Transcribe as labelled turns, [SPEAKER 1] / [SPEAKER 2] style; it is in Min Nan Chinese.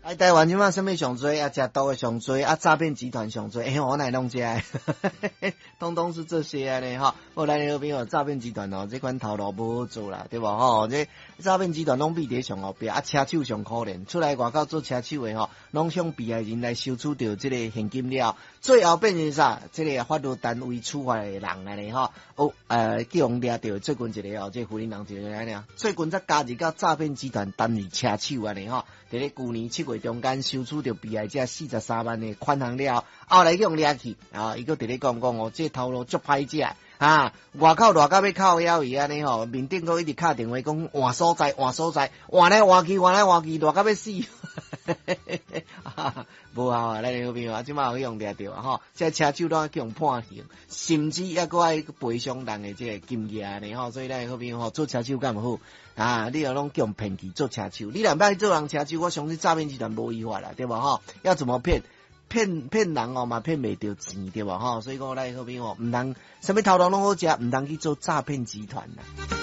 [SPEAKER 1] 啊，台灣這馬啥物上濟啊？食毒的上濟啊，詐騙集團上濟，欸，我哪會攏這个，通通是這些按呢吼。好，咱的好朋友詐騙集團哦，這款頭路無好做啦，對無吼？這詐騙集團攏秘佇上後壁，啊，車手上可憐，出來外口做車手的吼，攏向被害人來收取著這個現金了，最後變成啥？這個法律單位處罰的人按呢吼。哦，去予掠著，最近一個哦，這個雲林人一個按呢，最近才加入到詐騙集團擔任車手按呢吼。佇咧舊年7月中間收取著被害者43萬的款項了，後來去予掠去，啊，伊閣佇咧講講哦，這個頭路足歹食啊，外口熱甲欲哭枵去按呢吼，面頂閣一直敲電話講換所在換所在，換來換去換來換去，熱甲欲死，無效啊！咱的好朋友啊，這馬有去予掠著啊吼，這車手攏去予判刑，甚至猶閣愛賠償人的這個金額按呢吼，所以咱的好朋友吼做車手敢有好啊？你若攏去予騙去做車手，你若欲去做人車手，我相信詐騙集團無違法啦，對無吼？要怎麼騙？騙騙人哦嘛騙袂著錢對無吼？所以講咱的好朋友毋通啥物頭路攏好食，毋通去做詐騙集團啦。